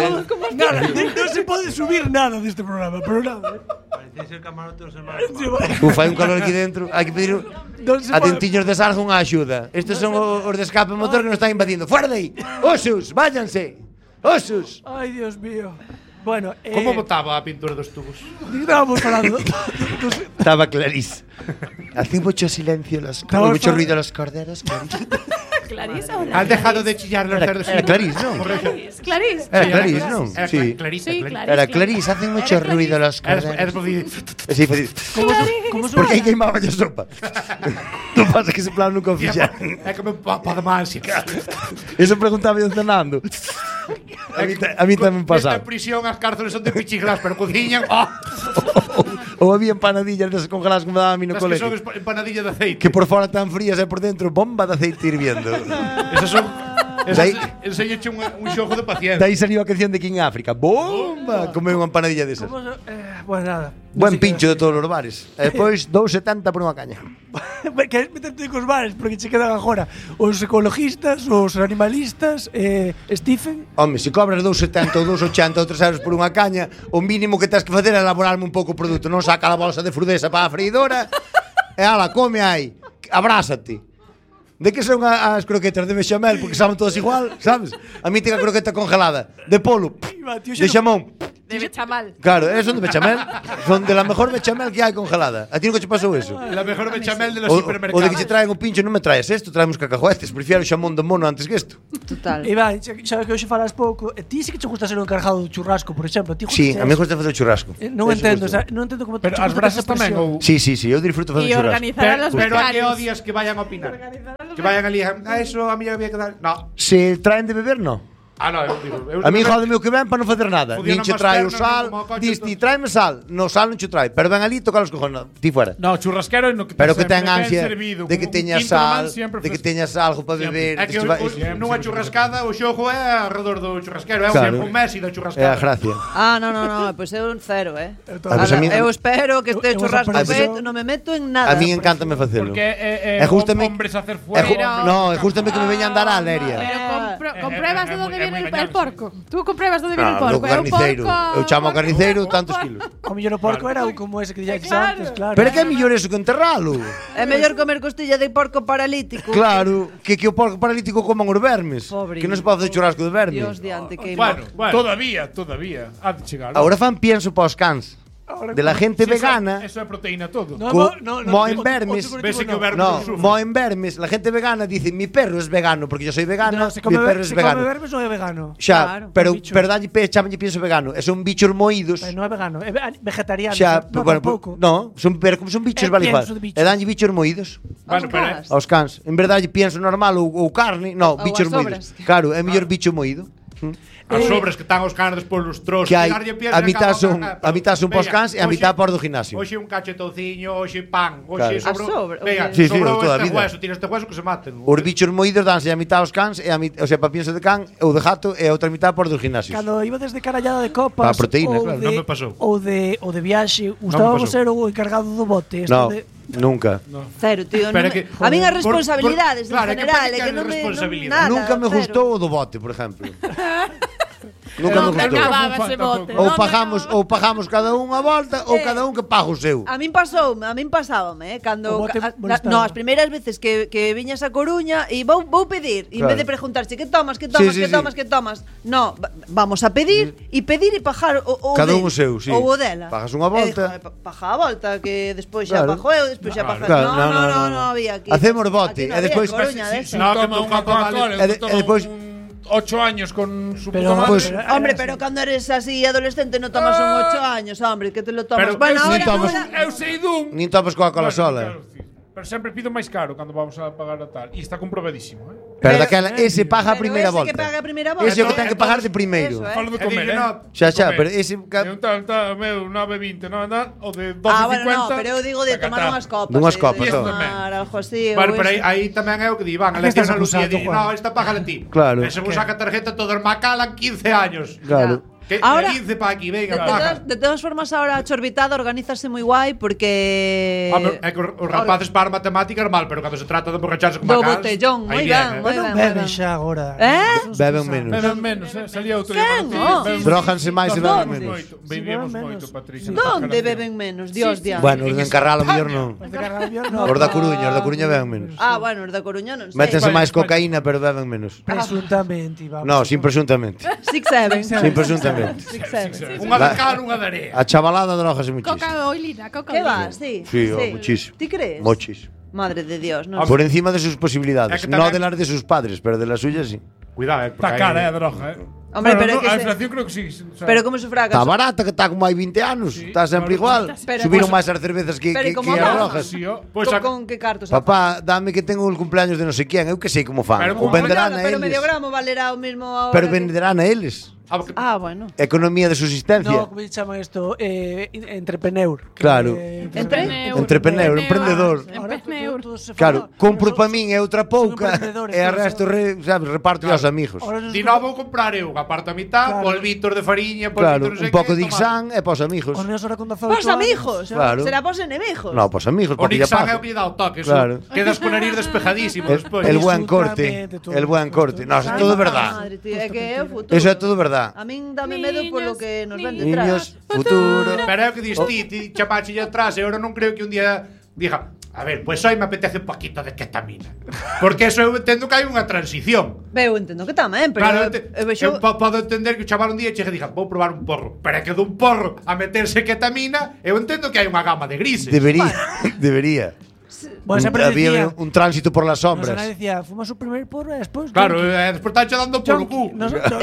Nada, no se puede subir nada de este programa, pero nada. Parece el camarote de los hermanos. Hai un calor aquí dentro. Hai que pedir a Dentiños de Sarja unha axuda. Estes son os de escape motor que nos están invadindo. ¡Fuera de aí! ¡Osos! ¡Váyanse! ¡Osos! Ay, Dios mío. Bueno, ¿cómo botaba a pintura dos tubos? Estábamos hablando. Estaba Clarice. Hace mucho silencio mucho ruido los corderos, Clarice. ¿Clarice? ¿Has dejado de chillar los cerdos? Era Clarice, ¿no? Clarice. Era Clarice, ¿no? Sí. Era Clarice, hacen mucho ruido los corderos. Sí, ¿cómo porque aí queimaba a sopa. Non pasa que ese plan nunca o fixeron. É como para máis. Eso preguntaba eu cenando. A mí tamén pasaba. Esta prisión as cárceles son de pichiglas, pero cociñan. Ou había empanadillas desas congeladas que me daban a mí no Las que colegio. son empanadilla de aceite. Que por fora tan frías e por dentro bomba de aceite hirviendo. Esas son... Dai- Enseñache un xogo de paciencia. Daí salió a canción de King África. Bomba! Comeu unha empanadilla desas. Pues nada. Buen pincho de todos os bares. E despois 2,70 por unha caña. Queres meterte cos bares porque che quedan agora os ecologistas, os animalistas, Stephen. Home, se cobras 2,70 ou 2,80 ou 3 euros por unha caña, o mínimo que tens que facer é elaborarme un pouco o produto. Non saca a bolsa de frudesa para a freidora e ala, come aí, abrázate. De que son as croquetas de bechamel, porque saben todas igual, sabes? A mí ten a croqueta congelada, de polo, de xamón. De bechamal. Claro, son de bechamel, son de la mejor bechamel que hai congelada. A ti nunca che pasou eso? La mejor bechamel de los O hipermercados. de que che traen o pincho, non me traes esto, traemos cacahuetes, prefiero o xamón do mono antes que isto. Total. Iván, xa que hoxe falas pouco, ti sí que che gusta ser o encargado do churrasco, por exemplo. Ti Sí, a mí gusta facer o churrasco. Non Eso entendo, gusta. non entendo como Pero te as gusta brasas esa tamén presión. ou Sí, eu disfruto facer Y churrasco. organizar a los Pero a que becarios. odias que vayan a opinar. Que vayan ali a eso a mí había que dar. No. Se traen de beber, no. Ah, no, eu digo. A mí jode o que ven para non facer nada. Funciona Nin che máis trae o pernas, sal, como o coche, dis ti, tráeme sal. No sal non che trae, pero ven ali, toca os cojones, ti fuera. No, churrasquero no que Pero que ten sempre ansia servido, de que como un teñas quinto sal, man sempre de que fresco. teñas algo para beber. É que nunha churrascada o xogo é alrededor do churrasquero, é Claro. un Messi da É a churrascada. gracia. Ah, no, pois eu un cero, Ah, pues a mí- eu espero que este eu churrasco esa feito, non me meto en nada. A mí encántame facelo. Porque É justamente hombres a hacer É fuego. no, é justamente que me veñan dar a Leria. Pero compruebas de dónde muy viene el engañable. porco. Tú compruebas dónde viene el No, porco. do carniceiro. Eu chamo ao carniceiro tantos kilos. O millón o porco era como ese que dixetes Claro. antes, claro. Pero é que é mellor eso que enterralo. É mellor comer costilla de porco paralítico. Claro, que o porco paralítico coman os vermes. Pobre. Que non se pode facer churrasco de verme. Dios diante que Bueno, todavía. Ha de chegar. Ahora fan pienso para os cans. De la gente Sí, vegana. Eso é proteína todo. Moen vermes. Vese que o verme No, non sufre. moen vermes. La gente vegana dice, mi perro es vegano, porque yo soy vegana, No, se mi perro es come vegano. verbes non é vegano. Xa, Claro, pero un bicho. dalle chamanlle pienso vegano. E son bichos moídos. Non é vegano, é vegetariano. Xa, no, bueno, tampouco. no, pero como son bichos vale igual. pienso de bichos. E danlle bichos moídos Bueno, pero aos cans. En verdade pienso normal ou carne, no, Ou bichos as moídos. sobras. Claro, é mellor bicho moído. as sobras que están os canos polos trozos. Que hai a mitad son pos cans e a mitad por do gimnasio. Hoxe un cachetouciño, hoxe pan, Claro. hoxe A sobra, Venga, Sí, sí, sobrou toda a este vida. hueso, tira este hueso que se maten. Os bichos moídos danse a mitad aos cans e o sea, para pienso de can ou de gato e a outra mitad por dos gimnasios. Cando iba desde carallada de copas Pa proteína, ou claro. de, Non me pasou. ou de viaxe, gustaba pasou. ser o encargado do bote. No, De, nunca. Cero, tío. Pero Non que- a min as por- responsabilidades claro, en que general, para é que que hai non me responsabilidade. nada, Nunca me cero. gustou o do bote, por exemplo. Nunca me Non gustou. acababa ese bote. Ou non pagamos cada un a volta ou cada un que paga o seu. A min pasábame, O cando bote molestaba. no, as primeiras veces que viñas a Coruña e vou pedir, e en Claro. vez de preguntarse que tomas, Sí, sí, sí. que tomas. No, vamos a pedir e pagar o Cada del, un o seu, sí. Ou o dela. Pagas unha volta. Paga a volta que despois xa Claro. pago eu, despois xa paga. Claro, No, había aquí. Hacemos bote, Aquí non e despois- había Coruña de Sí, eso. no, que Toma un unha Coca-Cola, E de- toma e despois- 8 años con su Pero- puta madre. Pues- Hombre, pero cando eres así adolescente no tomas un 8 años, hombre, que te lo tomas. Pero Bueno, eu ahora, sí tomas- ahora- Eu sei dun. Nin topas Coca-Cola Bueno, sola. claro, sí. Pero sempre pido máis caro cando vamos a pagar a tal. E está comprobadísimo, Pero daquela, ese paga a Pero primeira ese volta. que paga a primeira volta. Ese é o que ten que pagar de primeiro. Eso, Falo de E comer, dille, no, Xa, Comer. pero ese E un tal, meu 9,20, non, o de 12,50. Ah, bueno, no, pero eu digo de tomar unhas copas. Dunhas de copas, todo. tomar algo así. Bueno, ou pero eso. aí tamén é o que di, van, a Aquí lección estás a Lucía acusado, di, Juan. no, esta págala ti. Claro. E se vos saca tarjeta todo Macalan 15 años. Claro. Que Ahora- 15 pa aquí, venga, De paga. todas formas, ahora a Chorbitada organízase moi guai porque... É que os rapaces para matemáticas mal, pero cando se trata de emborracharse con Do Macalans, botellón, moi aí ben, moi viene, ben. Beben xa agora. Beben menos. Beben menos, salía outro Quen? día. Oh. Dróganse máis e beben menos. Bebíamos beben moito, menos. Patricia. Donde beben menos? Dios, diante. Bueno, os de Encarral, o mellor non. Os Os da Coruña beben menos. Ah, bueno, os da Coruña non sei. Métense Vale, máis cocaína, pero beben menos. Presuntamente, vamos. No, sin presuntamente. 6-7. Sin presuntamente. 6-7. Unha de cal, unha de area. A chavalada drogase muchísimo. Coca oilina, coca Que oilina. vas, sí? Sí, muchísimo. Ti crees? Muchísimo. Madre de Dios, no Por encima de sus posibilidades. Es que No también- de las de sus padres, pero de las suyas sí. Cuidado, Está cara, a droga, Hombre, Bueno, pero no, que a se- inflación creo que sí. O sea, Pero como sufragas. Está barata, que está como hai 20 anos. Está sempre igual. Pero- Subiron máis as cervezas que Pero como as baja. rojas. sí, ó. Pois Con que cartos? Papá, dame que tengo el cumpleaños de no sé quién. Eu que sei como fan. Pero O como venderán a Pero eles. medio gramo valerá o mismo ahora. Pero que- venderán a eles. Ah, bueno. Economía de subsistencia. No, como se llama esto? Entrepreneur. Claro. Entrepreneur, emprendedor. Emprendedor. Claro, compro para min e outra pouca emprendedores, e a todos, resto sabes, reparto aos amigos. Di no vou comprar eu, aparto a mitad, Claro. polvitos de fariña, Claro, polvitos non sei un pouco que, de Ixán e para os amigos. Os meus ahora con 18 Pos amigos. Claro. Será pos enemigos. No, para os amigos, O porque ya Nixan é paga. o que lle dá o toque, Claro. Quedas con nariz despejadísimo despois. El buen corte, Absolutamente todo. el buen corte. No, eso é todo verdad. Madre, tío, é que é o futuro. Eso é todo verdad. A min dame medo polo que nos ven Niños, detrás. futuro. Pero é o que dis ti chapache atrás, e ahora non creo que un día diga, a ver, pues hoy me apetece un poquito de ketamina. Porque eso eu entendo que hai unha transición. Eu entendo que tamén, pero Claro, eu vexo podo entender que o chaval un día che diga, vou probar un porro. Pero é que dun porro a meterse ketamina, eu entendo que hai unha gama de grises. Debería, debería. Bueno, sempre Había decía, un tránsito por las nos sombras. decía, fumas o primer porro e despois Claro, despois está dando por o cu.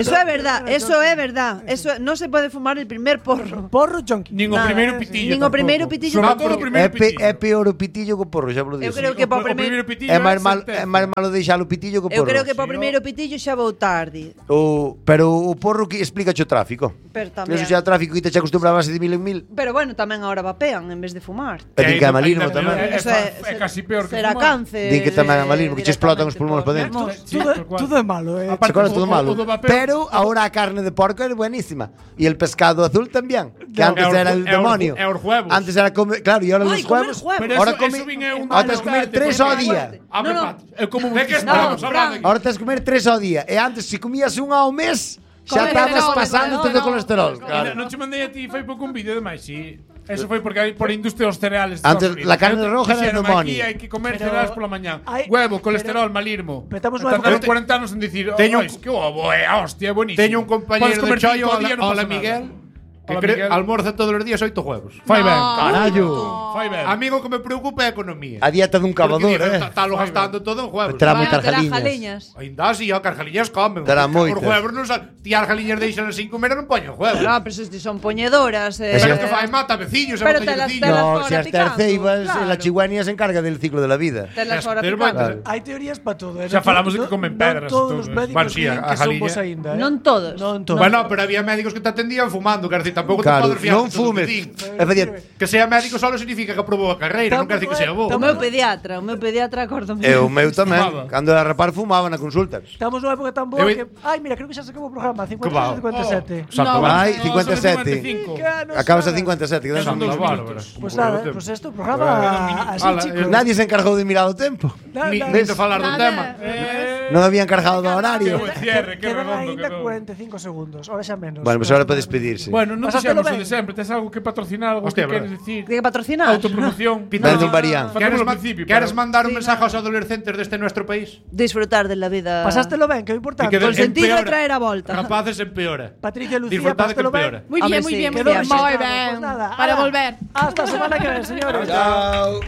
Eso é verdad, eso é verdad. Eso non se pode fumar el primer porro. Porro junkie. Nin o Nada, primeiro pitillo. nin o primeiro pitillo Sobre tampouco. todo o primeiro pitillo. É peor o pitillo que o porro, xa vos lo Eu dixo. creo que para o O primeiro primeiro pitillo É máis sentenza. malo deixar o pitillo que o Eu porro. creo que para o primeiro pitillo xa vou tarde. Pero o porro que explica o tráfico. Pero tamén. Eso xa o tráfico que te acostumbraba a base de mil en mil. Pero bueno, tamén agora vapean en vez de fumar. E din que é malismo Ainda tamén. mellor, Eso é casi peor que será fumar. cáncer. Din que tamén é malismo, que che explotan os pulmóns para dentro. Sí, Todo, tal cual. todo é malo, eh. Aparte, Ahora todo malo. o do vapeo- Pero ahora a carne de porco es buenísima. Y el pescado azul también. Que antes E os- era el e os- demonio. e os huevos. Antes era comer. Claro, y ahora Ay, los comer huevos. huevos. Pero Ahora eso- come. eso viñe un Ahora tienes que comer desgaste, 3 porque ao día. Abre No, no. pat. É como De que No, estamos hablando aquí? Ahora tienes que comer 3 ao día. E antes, si comías unha ao mes, xa estabas Colesterol, pasando todo o colesterol. Claro. Claro. Non che mandei a ti foi pouco un vídeo de máis, sí. Eso foi porque hai por industria dos cereales. de Antes, Estados Unidos. la carne roja era Dixeron, demonio. Aquí hai que comer Pero cereales pola mañá. hai- Huevo, colesterol, malismo. Petamos unha Tardaron época- 40 anos en dicir, Teño "Oh, que ovo, hostia, é buenísimo." Teño un compañero Podes de comer chollo, cinco ao día, non hola pasa nada. Miguel, que Hola, creo Miguel. almorza todos os días 8 huevos. Fai ben. Carallo. Fai ben. Amigo que me preocupa é a economía. A dieta dun cavador, Está lo gastando todo en huevos. Terá Vai a moitas ter as galiñas. jaliñas. Ainda así, ó, que as galiñas comen. Terá Os moitas. huevos non sal. Ti as galiñas deixan sin comer e non poñen huevos. No, pero se son poñedoras. Pero que fai mata veciños, Pero mata telas- veciños. telas- No, fora si as picando, terceivas, claro. la chihuahua se encarga del ciclo de la vida. Telas fora Pero picando. bueno, Hai teorías para todo, eh. Xa falamos de que comen pedras e todos todo, os eh. médicos Bueno, sí, din a que son galiña. vos aínda, eh. Non todos. Non todos. Bueno, pero había médicos que te atendían fumando, quer decir, tampouco te Claro, podes fiar non de todo o que fumes. din. É dicir, Que sea médico solo significa que aprobou a carreira, non quer decir que sea bo. O meu pediatra acórdome. e o meu tamén. Fumaba. Cando era rapar fumaba na consulta. Estamos nunha época tan boa Eu- que... Ai, mira, creo que xa se acabou o programa. Que va. 56 57. Santo No. va. Ai, No, 57. 55. Acabas a 57, que Son dan dos bárbaro. minutos. Pues nada, pues esto, programa así, Ala, chicos. Nadie se encargou de mirar o tempo. Ni de falar do tema. Non habían cargado do horario. Qué buen cierre, qué Quedan redondo ainda quedou. 45 segundos, ahora xa menos. Bueno, pues ahora para despedirse. Bueno, non Pasátelo fixemos o ben. de sempre. Tes algo que patrocinar, algo Hostia, que queres verdad. decir? Tiene que patrocinar. Autopromoción. Vende un varián. Queres, Facémolo ao principio, queres pero- mandar un mensaje aos adolescentes deste nuestro país? Disfrutar de la vida. Pasástelo ben, que é o importante. Que Con sentido de empeora. traer a volta. Rapaces empeora. Patricia Lucía, Disfrutad que pásatelo ben. empeora. Muy Hombre, bien, muy sí. bien, muy Quedó bien. así. Muy Pues bien. nada, Para ala. volver. Hasta semana que ven, señores. Chao.